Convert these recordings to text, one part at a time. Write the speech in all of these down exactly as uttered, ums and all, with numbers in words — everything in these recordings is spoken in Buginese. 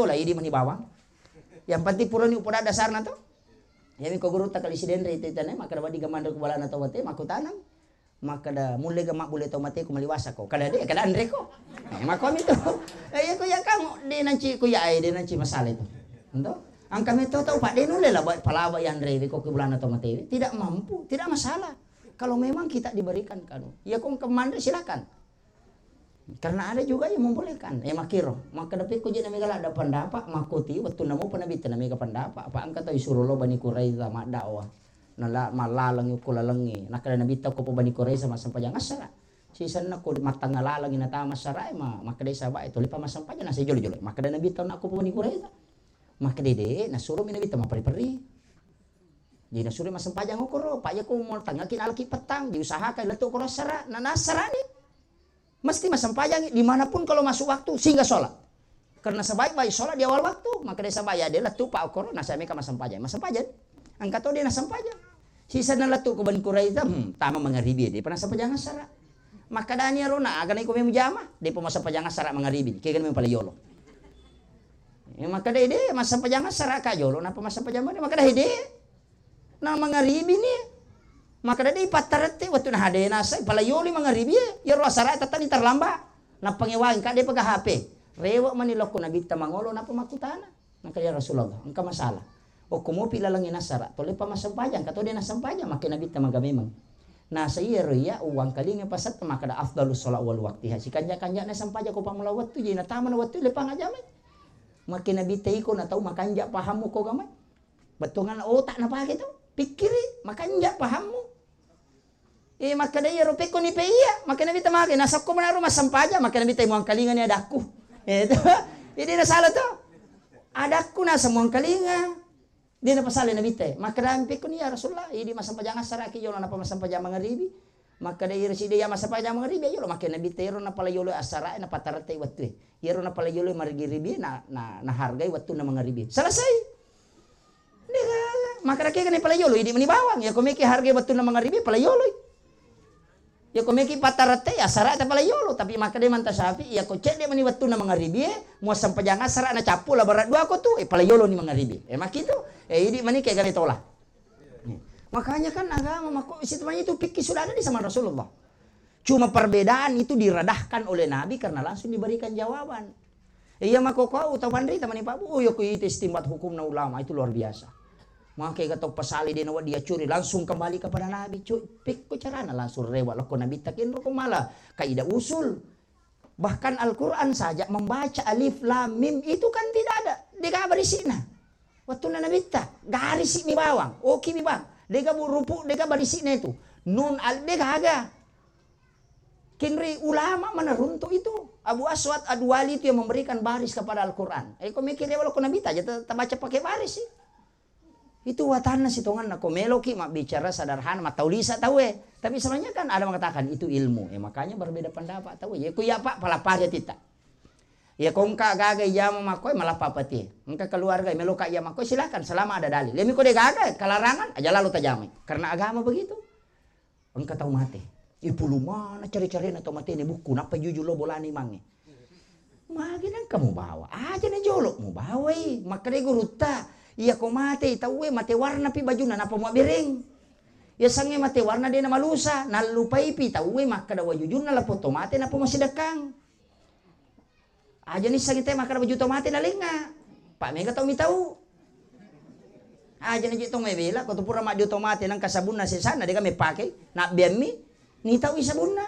Lah, idi mani bawang. Yang penting purani upoda dasarna to. Iyami ko gurutta kali Sidenreng itu itane, makkeda, "Wedding ga manre ku bolana tau mate?" Makkutanang. Makkeda, "Mulle ga mabbulle tau mate ku maliwasa ko?" Kada de, kada anre ko. Eh, makkuami to. Eh, iya ko iya kamu, de nanci ko iya, eh, de nanci masalah itu. Ento? Angka metto tau, Pak, de nulle la, ba-, palawa yanre ko ku bolana tau mate. Tidak mampu, tidak masalah. Kalau memang kita diberikan kanu. Iya ko engka manre silakan. Karena ada juga yang membolehkan. Eh, makkiro. Makkeda pekko je na mega ladda pendapat, makkoti wettunna mopa Nabitta na mega pendapat. Apa engka tau isuro lo Bani Quraiza maddakwah. Nala-, mallalengi ko lalengi. Nakkeda Nabitta ko Bani Quraiza massempajang assara. Sisenna ko mattangnga lalengi natama assara, eh, ma-, makkeda sahabat, eh, tolepa massempajang, nasa jolo-jolo. Makkeda Nabitta, "Nakko Bani Quraiza." Makkeda de, nasuromi Nabitta mapperri-perri. Jadi nasuro massempajang okoro, Pak, iya ko mau tangngaki nalaki petang, diusahakan lettu okoro assara, na nassarani. Mesti massempajang dimanapun kalau masuk waktu, sehingga sholat. Karena sebaik-baik sholat di awal waktu, maka dia sahabat ya, dia lettu Pak okoro, nasa meka massempajang. Massempajang. Engka to dia nassempajang. Sisa na lettu ke Bani Quraiza, hmm, tama mangaribi, dia pernah sempajang assara. Makkadani arona, aga na iko memu jama, dia pernah sempajang assara mangaribi, kega memu pale yolo. Ya, makkeda ede, massempajang assara ka jolo, napa massempajang mani? Makkeda ede, na mangaribi ni. Makkeda de ipattarette, wettu na hadena sai, pala yoli mangaribi e, yaro assara tattani terlambat. Nappa ngewang ka de pega H P. Rewe mani lokko Nabitta mangolo, napa makkutana. Makkeda, "Ya Rasulullah, engka masalah. Okko mopi lalengi nassara, tolepa massempajang, ka to de nassempajang, makke Nabitta maga memang." Nasa iyaro iya uwangkalinga pasetta makkeda afdalus sholat wal waktiha. Sikanja-kanjana sempajang ko pammula wettu, jadi natama na wettu lepang ajamai. Makke Nabitta iko na tau makanja pahammu ko gamai. Bettuangan otak napake tu. Pikkiri, makanja pahammu. Eh, makkeda iyaro pekko ni pe iya, makkeda Nabitta mage, nasakko manaro massempajang, makkeda Nabitta muangkalinga ni adakku. Eh, itu. Jadi na salah tu. Adakku nasa muangkalinga. Dia napasale Nabitta. Makkeda pekko ni ya Rasulullah, idi massempajang assara ki yolo napa massempajang mangaribi. Makkeda iyaro sidi ya massempajang mangaribi yolo, makkeda Nabitta iyaro napala yolo assara, napattarette wettu. Iyaro napala yolo margiribi, na, na, nahargai wettunna mangaribi. Selesai. Degaga. Makkeda kega ni pala yolo, idi mani bawang. Ya ko meki hargai wettunna mangaribi, pala yoloi. Ya ko meki pattarette, ya assara ta pala yolo. Tapi makkeda Imam Syafi'i, ya ko cedde mani wettunna mangaribi, eh, mua sempajang assara na cappu la barat dua ko tu, eh, pala yolo ni mangaribi. Eh, makkitu. Eh, idi mani kega ni tola. Nih. Makanya kan agama mako, situ itu fikih sudah ada di zaman Rasulullah. Cuma perbedaan itu diredahkan oleh Nabi karena langsung diberikan jawaban. Iya, makkokko au tau panrita mani Pak Bu, oh, iya, ko itu istimbat hukumna ulama itu luar biasa. Maka kata pasali de nawa dia curi, langsung kembali kepada Nabi. Cu, pekko carana langsung rewa lokko Nabitta kenro ko malah kaidah usul. Bahkan Al-Quran saja membaca alif lam mim itu kan tidak ada. Dega barisina. Wettunna Nabitta, garisi mi bawang, oki mi bang. Dega bu rupu, dega barisina itu. Nun al, dega aga. Kinri ulama mana runtuk itu. Abu Aswad Ad-Duwali itu yang memberikan baris kepada Al-Quran. Eh, ko mikir ya, walau ko Nabi aja ta-, tabaca pakai baris sih. Itu watanna sitonganna. Ko meloki mabbicara sederhana, mataulisa tahu eh. Tapi sebenarnya kan ada mengatakan itu ilmu. Eh, makanya berbeda pendapat tahu eh. Ya, ku ya Pak, palapari tita. Ya, ko engka gaga ijama makkoe malappa pati. Engka keluarga meloka ijama makkoe, silakan, selama ada dalil. Lemi ko de gaga, kelarangan, aja lalu tajamai. Karena agama begitu. Engka tau mate. Ipulumana cari-carina tau mate ni bukku, nappa juju lo bolani mange. Magi nang kamu bawa? Aja na jolo mu bawai. Makkeda gurutta, iya ko mate tauwe mate warna pi bajuna napa mu bereng. Ya sange mate warna dena malusa, nallupai pi tauwe makkeda wajujunna lapo to mate napa masidekkang. Aja nissengi te makkeda baju to mate nalenga. Pak mega tau mitau. Aja naji tong mebela, ko tu pura maddio to mate nangka sabunna sesana dega mepake, nabbeammi, nitaui sabunna.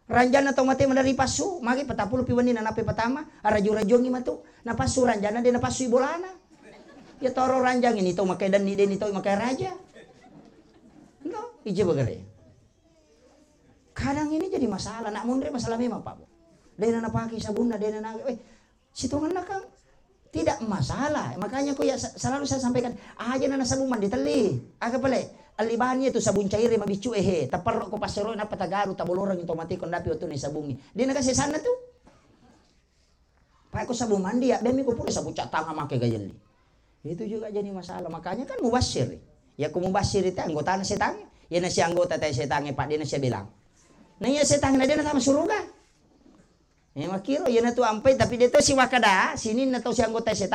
Ranjanna tau mate madari passu, magi patappulo pi wenni nanape patama, araju-rajuangi matu, napassu ranjanna de napassu bolana. Ya toro ranjangi nitau makai danni de nitau makai raja. No, ije bagare. Kadang ini jadi masalah, nak munre masalah memang, Pak. Dena napake sabunna, dena na, eh, sitonganna kan tidak masalah. Makanya ko ya sa-, selalu saya sampaikan, aja nana sabun mandi telli. Aga pale, alibani itu sabun cair mabiccu ehe, taperro ko pasero napa tagaru taboloreng to mati ko ndapi otu ni sabungi. Dena kasih sana tu. Pak ko sabun mandi ya, demi ko pura sabun cat tangan make gajelli. Itu juga jadi masalah. Makanya kan mubasir. Ya ko mubasir itu anggotana setan. Ya nasi anggota tai setan Pak, dena sia bilang. Nah iya setan na dena sama suruga. Eh, makkiro, iyana tu ampai, tapi de to siwakkada, sininna tau sianggota e